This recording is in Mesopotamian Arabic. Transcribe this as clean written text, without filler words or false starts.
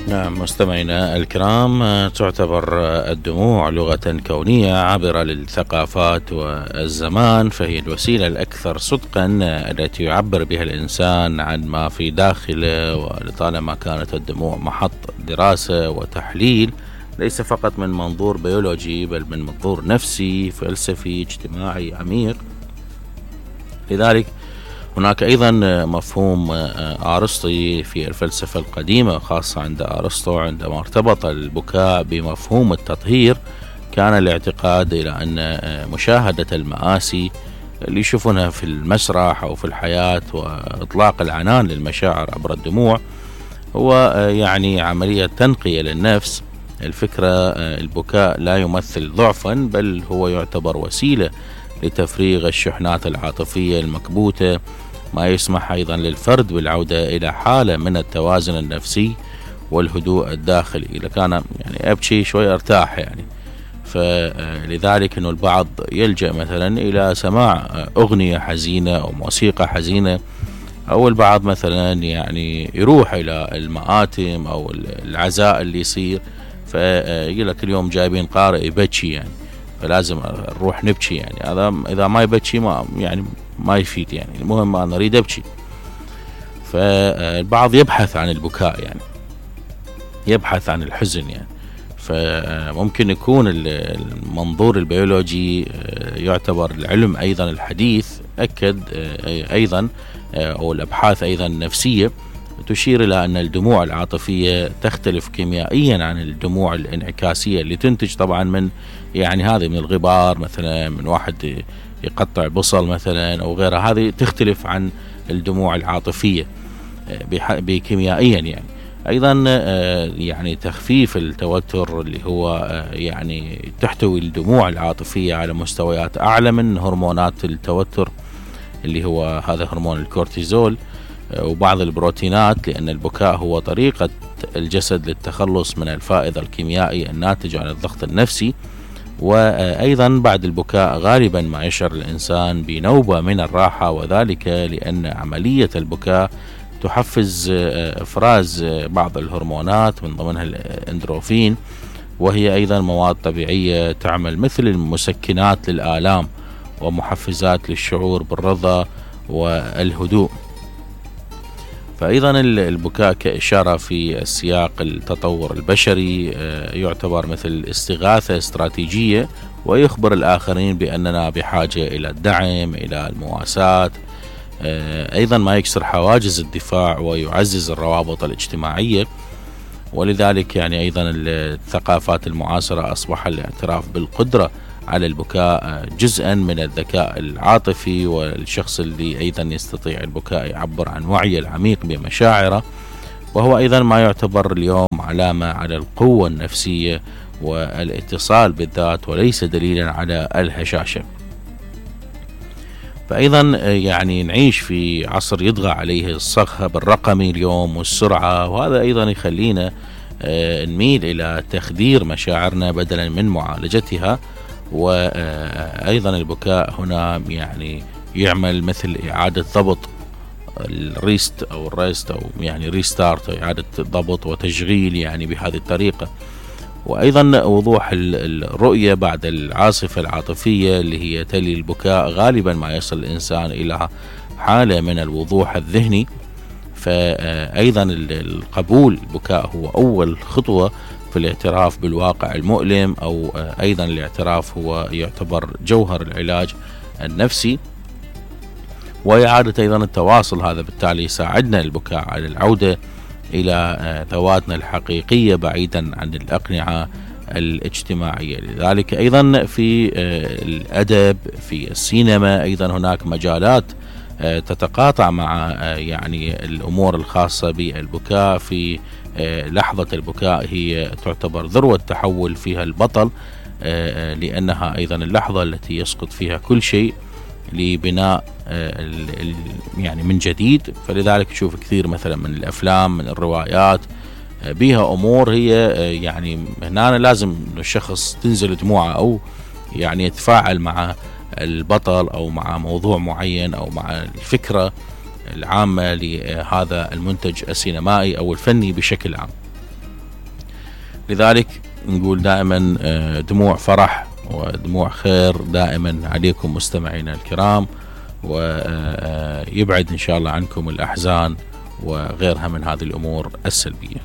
نعم مستمعينا الكرام، تعتبر الدموع لغة كونية عابرة للثقافات والزمان، فهي الوسيلة الأكثر صدقا التي يعبر بها الإنسان عن ما في داخله. ولطالما كانت الدموع محط دراسة وتحليل ليس فقط من منظور بيولوجي بل من منظور نفسي فلسفي اجتماعي عميق. لذلك هناك أيضا مفهوم أرسطي في الفلسفة القديمة، خاصة عند أرسطو عندما ارتبط البكاء بمفهوم التطهير، كان الاعتقاد إلى أن مشاهدة المآسي اللي يشوفونها في المسرح أو في الحياة وإطلاق العنان للمشاعر عبر الدموع هو يعني عملية تنقية للنفس. الفكرة البكاء لا يمثل ضعفا بل هو يعتبر وسيلة لتفريغ الشحنات العاطفية المكبوتة، ما يسمح أيضا للفرد بالعودة إلى حالة من التوازن النفسي والهدوء الداخلي. إذا كان يعني أبكي شوي أرتاح يعني، فلذلك أنه البعض يلجأ مثلا إلى سماع أغنية حزينة أو موسيقى حزينة، أو البعض مثلا يعني يروح إلى المآتم أو العزاء اللي يصير، فيقول لك اليوم جايبين قارئ يبكي يعني فلازم نروح نبكي. يعني هذا إذا ما يبكي ما يفيد يعني، المهم أنا أريد أبكي. فالبعض يبحث عن البكاء يعني، يبحث عن الحزن يعني. فممكن يكون المنظور البيولوجي يعتبر العلم أيضا الحديث أكد أيضا أو الأبحاث أيضا النفسية تشير إلى أن الدموع العاطفية تختلف كيميائيا عن الدموع الانعكاسية اللي تنتج طبعا من يعني هذه من الغبار مثلا، من واحد يقطع بصل مثلا أو غيرها، هذه تختلف عن الدموع العاطفية بكيميائيا يعني. أيضا يعني تخفيف التوتر اللي هو يعني تحتوي الدموع العاطفية على مستويات أعلى من هرمونات التوتر اللي هو هذا هرمون الكورتيزول وبعض البروتينات، لأن البكاء هو طريقة الجسد للتخلص من الفائض الكيميائي الناتج عن الضغط النفسي. وأيضا بعد البكاء غالبا ما يشعر الإنسان بنوبة من الراحة، وذلك لأن عملية البكاء تحفز إفراز بعض الهرمونات من ضمنها الإندروفين، وهي أيضا مواد طبيعية تعمل مثل المسكنات للآلام ومحفزات للشعور بالرضا والهدوء. فأيضا البكاء كإشارة في السياق التطور البشري يعتبر مثل استغاثة استراتيجية، ويخبر الآخرين بأننا بحاجة إلى الدعم، إلى المواساة. أيضا ما يكسر حواجز الدفاع ويعزز الروابط الاجتماعية. ولذلك يعني أيضا الثقافات المعاصرة أصبح الاعتراف بالقدرة على البكاء جزءا من الذكاء العاطفي، والشخص اللي أيضا يستطيع البكاء يعبر عن وعيه العميق بمشاعره، وهو أيضا ما يعتبر اليوم علامة على القوة النفسية والاتصال بالذات وليس دليلا على الهشاشة. فأيضا يعني نعيش في عصر يطغى عليه الصخب الرقمي اليوم والسرعة، وهذا أيضا يخلينا نميل إلى تخدير مشاعرنا بدلا من معالجتها. وأيضا البكاء هنا يعني يعمل مثل إعادة ضبط الريست أو الريست أو يعني ريستارت، إعادة ضبط وتشغيل يعني بهذه الطريقة. وأيضا وضوح الرؤية بعد العاصفة العاطفية اللي هي تلي البكاء، غالبا ما يصل الإنسان إلى حالة من الوضوح الذهني. فأيضا القبول البكاء هو أول خطوة في الاعتراف بالواقع المؤلم، أو أيضا الاعتراف هو يعتبر جوهر العلاج النفسي وإعادة أيضا التواصل. هذا بالتالي يساعدنا البكاء على العودة إلى ذواتنا الحقيقية بعيدا عن الأقنعة الاجتماعية. لذلك أيضا في الأدب، في السينما أيضا هناك مجالات تتقاطع مع يعني الأمور الخاصة بالبكاء. في لحظة البكاء هي تعتبر ذروة تحول فيها البطل، لأنها أيضا اللحظة التي يسقط فيها كل شيء لبناء يعني من جديد. فلذلك نشوف كثير مثلا من الأفلام من الروايات بها أمور هي يعني هنا لازم الشخص تنزل دموعه أو يعني يتفاعل مع البطل أو مع موضوع معين أو مع الفكرة العامة لهذا المنتج السينمائي أو الفني بشكل عام. لذلك نقول دائما دموع فرح ودموع خير دائما عليكم مستمعينا الكرام، ويبعد إن شاء الله عنكم الأحزان وغيرها من هذه الأمور السلبية.